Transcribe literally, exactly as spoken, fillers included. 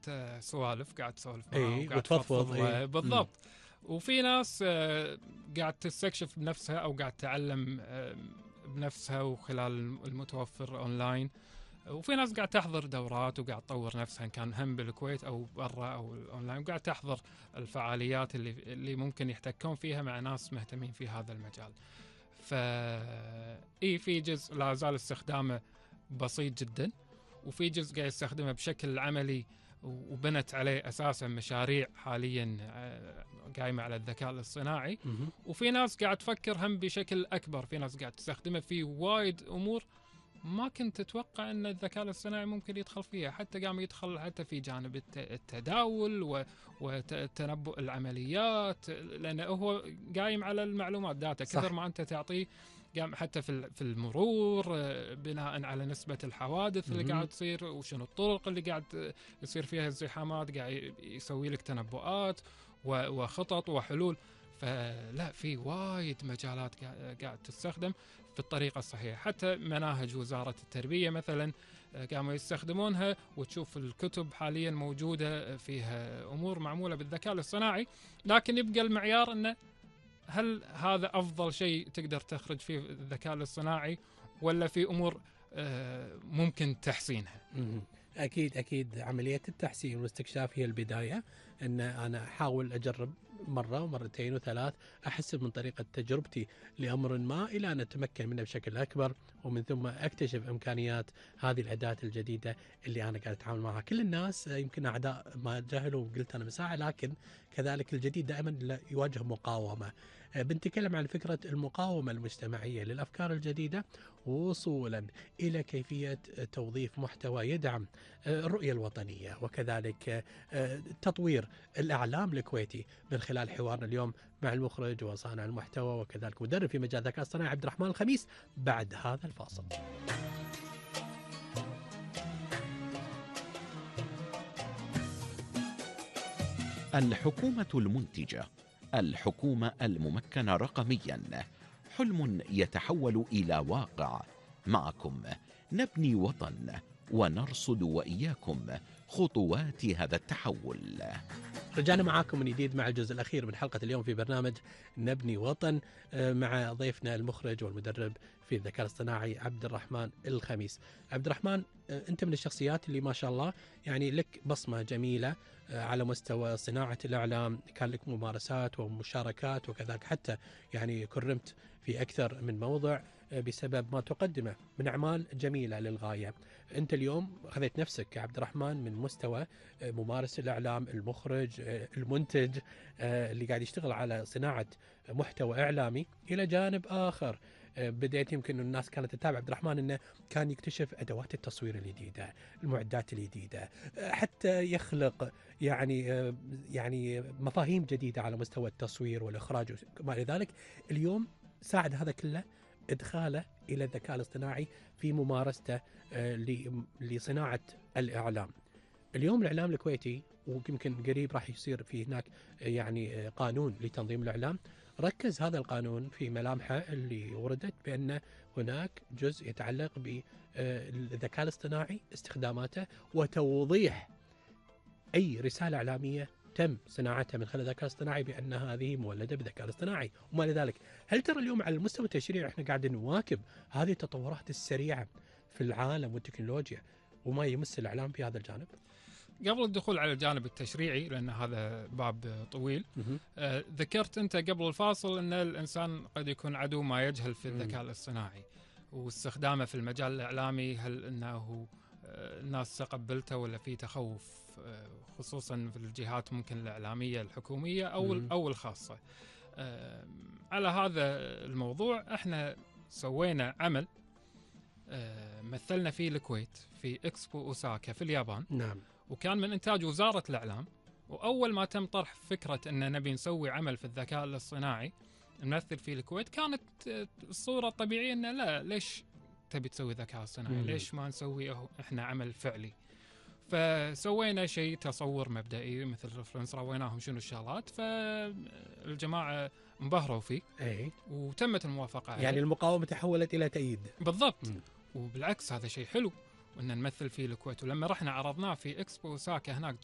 انت سوالف قاعد تسولف معاه اي وقاعد وتفضفض. ايه بالضبط. وفي ناس قاعد تستكشف بنفسها او قاعد تعلم بنفسها وخلال المتوفر اونلاين، وفي ناس قاعد تحضر دورات وقاعد تطور نفسها، كان هم بالكويت او برا او اونلاين، وقاعد تحضر الفعاليات اللي اللي ممكن يحتكون فيها مع ناس مهتمين في هذا المجال. ف اي في جزء لا زال استخدامه بسيط جدا، وفي جزء قاعد يستخدمه بشكل عملي وبنت عليه اساسا مشاريع حاليا قايمه على الذكاء الاصطناعي. وفي ناس قاعد تفكر هم بشكل اكبر، في ناس قاعد تستخدمه في وايد امور ما كنت تتوقع ان الذكاء الاصطناعي ممكن يدخل فيها، حتى قام يدخل حتى في جانب التداول وتنبؤ العمليات، لانه هو قايم على المعلومات داتا كثر ما انت تعطيه. قام حتى في في المرور بناء على نسبة الحوادث اللي قاعد تصير وشنو الطرق اللي قاعد يصير فيها الزحامات، قاعد يسوي لك تنبؤات وخطط وحلول. فلا في وايد مجالات قاعد تستخدم في الطريقة الصحيحة. حتى مناهج وزارة التربية مثلا قاموا يستخدمونها، وتشوف الكتب حاليا موجودة فيها أمور معمولة بالذكاء الاصطناعي، لكن يبقى المعيار أنه هل هذا أفضل شيء تقدر تخرج فيه الذكاء الاصطناعي، ولا في أمور ممكن تحسينها؟ أكيد أكيد عملية التحسين والاستكشاف هي البداية، أن أنا أحاول أجرب مرة ومرتين وثلاث، أحسب من طريقة تجربتي لأمر ما إلى أن أتمكن منه بشكل أكبر، ومن ثم أكتشف إمكانيات هذه الأداة الجديدة اللي أنا قاعد أتعامل معها. كل الناس يمكن أعداء ما جهلوا وقلت أنا مساعة، لكن كذلك الجديد دائما يواجه مقاومة. بنتكلم عن فكرة المقاومة المجتمعية للأفكار الجديدة، وصولا إلى كيفية توظيف محتوى يدعم الرؤية الوطنية، وكذلك تطوير الإعلام الكويتي من خلال حوارنا اليوم مع المخرج وصانع المحتوى وكذلك مدرب في مجال الذكاء الاصطناعي عبد الرحمن الخميس بعد هذا الفاصل. الحكومة المنتجة، الحكومة الممكنة رقميا، حلم يتحول إلى واقع. معكم نبني وطن ونرصد وإياكم خطوات هذا التحول. رجعنا معاكم من جديد مع الجزء الأخير من حلقة اليوم في برنامج نبني وطن مع ضيفنا المخرج والمدرب في الذكاء الاصطناعي عبد الرحمن الخميس. عبد الرحمن، أنت من الشخصيات اللي ما شاء الله يعني لك بصمة جميلة على مستوى صناعة الإعلام، كان لك ممارسات ومشاركات، وكذلك حتى يعني كرمت في أكثر من موضع بسبب ما تقدمه من أعمال جميلة للغاية. أنت اليوم خذيت نفسك عبد الرحمن من مستوى ممارس الإعلام، المخرج، المنتج اللي قاعد يشتغل على صناعة محتوى إعلامي، إلى جانب آخر بدأت يمكن الناس كانت تتابع عبد الرحمن أنه كان يكتشف أدوات التصوير الجديدة، المعدات الجديدة، حتى يخلق يعني يعني مفاهيم جديدة على مستوى التصوير والإخراج وما إلى ذلك. اليوم ساعد هذا كله إدخاله إلى الذكاء الاصطناعي في ممارسته لصناعة الإعلام. اليوم الإعلام الكويتي، ويمكن قريب راح يصير في هناك يعني قانون لتنظيم الإعلام، ركز هذا القانون في ملامحه اللي وردت بأن هناك جزء يتعلق بالذكاء الاصطناعي، استخداماته وتوضيح أي رسالة إعلامية تم صناعتها من خلال الذكاء الاصطناعي بأن هذه مولدة بالذكاء الاصطناعي وما لذلك. هل ترى اليوم على المستوى التشريعي احنا قاعدين نواكب هذه التطورات السريعة في العالم والتكنولوجيا وما يمس الإعلام في هذا الجانب؟ قبل الدخول على الجانب التشريعي، لأن هذا باب طويل، آه ذكرت أنت قبل الفاصل أن الإنسان قد يكون عدو ما يجهل في الذكاء الاصطناعي واستخدامه في المجال الإعلامي. هل أنه آه الناس تقبلته ولا في تخوف، آه خصوصا في الجهات ممكن الإعلامية الحكومية أو, أو الخاصة؟ آه على هذا الموضوع احنا سوينا عمل آه مثلنا فيه الكويت في إكسبو أوساكا في اليابان. نعم. وكان من إنتاج وزارة الإعلام. وأول ما تم طرح فكرة أن نبي نسوي عمل في الذكاء الاصطناعي نمثل في الكويت، كانت الصورة الطبيعية أن لا، ليش تبي تسوي ذكاء اصطناعي؟ ليش ما نسوي إحنا عمل فعلي؟ فسوينا شيء تصور مبدئي مثل ريفرنس، رويناهم شنو الشغلات، فالجماعة انبهروا فيه. أي. وتمت الموافقة عليه. يعني المقاومة تحولت إلى تأييد. بالضبط. م. وبالعكس هذا شيء حلو وأن نمثل فيه الكويت. ولما رحنا عرضناه في إكسبو أوساكا هناك